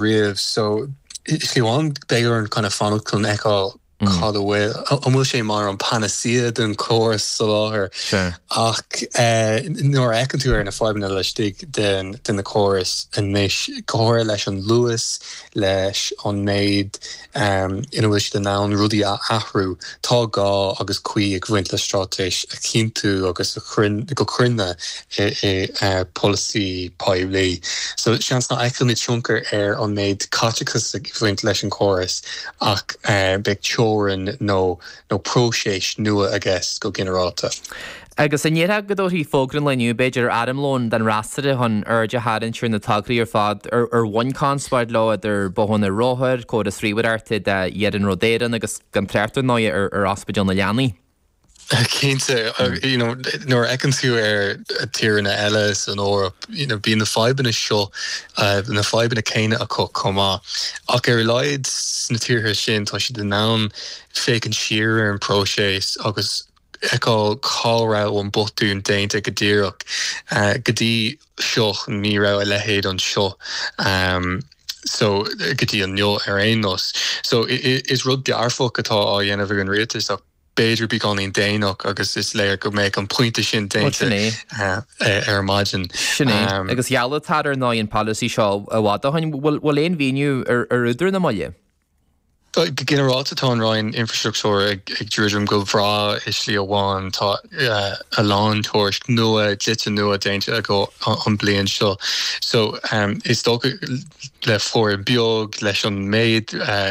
riamh so i slí amháin beidh orainn kind of fanacht chun fheiceáil cad a bhfuil, an bhfuil sé mar an panacea don chóras soláthair ach nuair a fheiceann tú ar na fadhbanna laistigh de na córais anois, go háirithe leis an luas, leis an méid ina bhfuil siad in ann rudaí a athrú, tá gá agus cuí ag bhaint le straitéis a chinntiú agus a go cruinne i polasaí poiblí. So seans nach bhfeicfimid tionchar ar an méid caiteachas ag bhaint leis an chóras ach beidh teorainn nó nó próiseas nua i gceist go ginearálta. Agus an ndéarfá go dtabharfaí fógra an lae inniu, b'fhéidir, ar armlón don fhreasúra chun aird a tharraingt ar na tograí ar fad ar bhain conspóid leo, idir bothanna rothar, córas ríomhaireachta d'Iarnród Éireann agus gan trácht ar ndóigh ar Ospidéal na Leanaí. Cinnte, you know, nuair a fheiceann tú ar tíreanna eile san Eoraip, you know, bíonn na fadhbanna seo, na fadhbanna céanna acu chomh maith. Ach ar a laghad sna tíortha sin, tá siad in ann féachaint siar ar an bpróiseas agus fheiceáil cá raibh an botún déanta go díreach. Go dtí seo, ní raibh a leithéid anseo. So, go dtí inniu ar aon nós. So, is rud dearfach atá á dhéanamh ag an rialtas ach b'fhéidir beagáinín déanach agus is léir go mbeadh an pointe sin déanta ar maidin. Sin é. Agus gheall an tAire ar ndóigh an polasaí seo i bhfad ó shin. Bhfuil aon mhíniú ar údar na moille? Go ginearálta tá an Roinn Infreastruchtúir ag druidim go breá i slí amháin. Tá a lán tuairisc nua, dlite nua déanta acu an bliain seo. So is dócha le foireann beag, leis an méid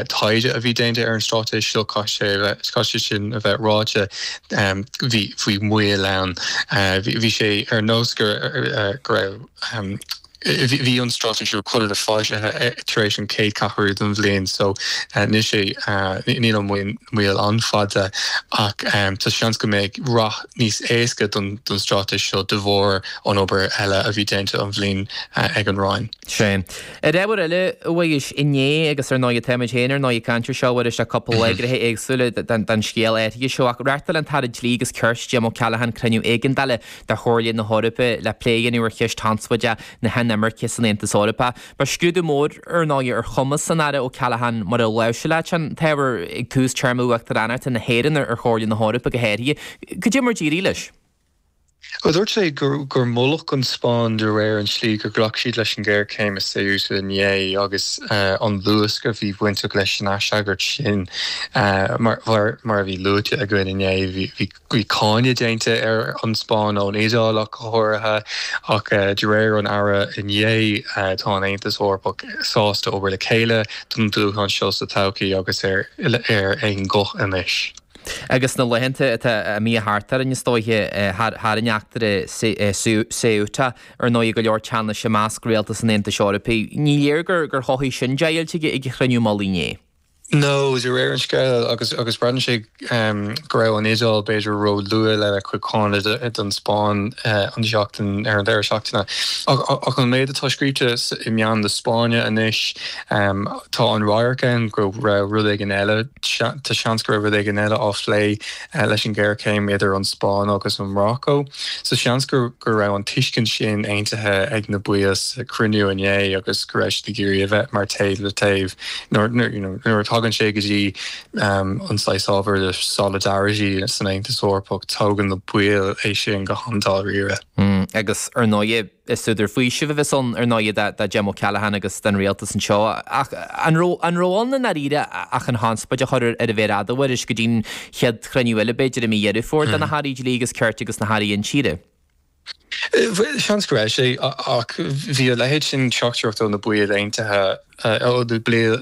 taighde a bhí déanta ar an straitéis seo, caithfidh sé sin a bheith ráite, bhí bhí moill ann. Bhí sé ar nós go raibh bhí an straitéis seo chóir a bheith foilsithe tar éis an chéad cheathrú den bhliain so níl sé níl an mhoill an-fhada ach tá seans go mbeidh rath níos éasca don straitéis seo de bharr an obair eile a bhí déanta an bhliain ag an Roinn. Sea. Ar ábhar eile, a Mhuiris, inné, agus ar ndóigh táimid féin ar ndóigh ag caint ar seo, a Mhuiris, le cúpla lá ag éagsúla den scéal áirithe seo, ach reáchtáil an tAire Dlí agus Cirt, Jim O'Callaghan, cruinniú éigeandála de Chomhairle na hEorpa le plé a dhéanamh ar cheist chonspóideach na hinimirce san Aontas Eorpach. Ba scrúdú mór, ar ndóigh, ar chumas an Aire O'Callaghan mar a láimhseáil sé an t-ábhar ag tús téarma Uachtaránachta na hÉireann ar Chomhairle na hEorpa go háirithe. Cad é mar d'éirigh leis? Bhuel, dúirt sé gur moladh an Spáinn de réir an tslí gur ghlac siad leis an ghéarchéim i Ceuta inné agus an luasc a bhí bainteach leis an aisfhreagairt sin. Mar a bhí luaite againn inné, bhí cáineadh déanta ar an Spáinn ón Iodáil ach go háirithe, ach de réir an Aire inné, tá an Aontas Eorpach sásta obair le chéile don dúshlán seo sa todhchaí agus ar aon ghuth anois. Agus sna laethanta atá imithe thart orainn, is dóiche, tharraing eachtra Ceuta, ar ndóigh, go leor teannais i measc rialtas an Aontais Eorpaigh. Ní léir gur chothaigh sin deighilt ag an chruinniú mullaigh inné. No, de réir an scéil, agus agus braitheann sé go raibh an Iodáil b'fhéidir ró-luath lena cuid cáineadh don Spáinn an seachtain ar an deireadh seachtaine. Ach an méid atá scríte i meáin na Spáinne anois, tá an radharc ann go raibh rud éigin eile Tá seans go raibh rud éigin eile á phlé leis an ghéarchéim idir an Spáinn agus an Mharacó. So seans go raibh an tuiscint sin aontaithe ag na baill sa chruinniú inné agus go raibh siad ag iarraidh a bheith mar taobh le taobh nuair a thagann sé go dtí an saghas ábhar de solidarity san Aontas Eorpach, tógann na baill é sin go han-dáiríre. Agus ar ndóigh, Is údar faoisimh a bheas ann, ar ndóigh, do Jim O'Callaghan agus don rialtas anseo. Ach an raibh an raibh ann i ndáiríre ach an chonspóid a chur ar an mhéar fhada, a Mhuiris, go dtí'n chéad chruinniú eile, b'fhéidir, i mí Dheireadh Fómhair do na hAirí Dlí agus Cirt agus na hAirí Intíre? Seans go raibh sé, ach bhí a leithéid sin teachtaireacht ó na baill aontaithe ó na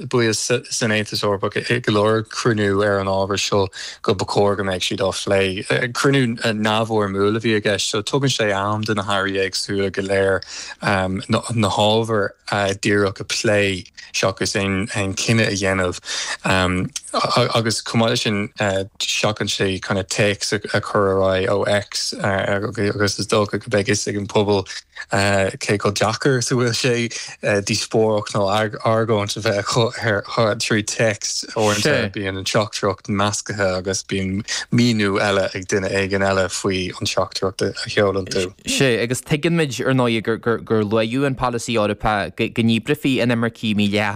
baill san Aontas Eorpach i go leor cruinniú ar an ábhar seo go ba chóir go mbeadh siad á phlé. Cruinniú neamhfhoirmiúil a bhí i gceist so tugann sé am do na hairí éagsúla go léir na hábhair díreach a phlé seachas aon chinneadh a dhéanamh. Agus chomh maith leis sin seachain sé kind of téacs a chur ar aghaidh ó X agus is dócha go. beidh fhios ag an pobal cé chomh deacair is a bhfuil sé díospóireacht nó argóint a bheith acu ar trí text. Uaireanta bíonn an teachtaireacht measctha agus bíonn míniú eile ag duine éigin eile faoi an teachtaireacht a sheolann tú. Sea, agus tuigeann muid, ar ndóigh, gur luaíodh an polasaí Eorpach go ndíbreofaí inimircigh mídhleathacha.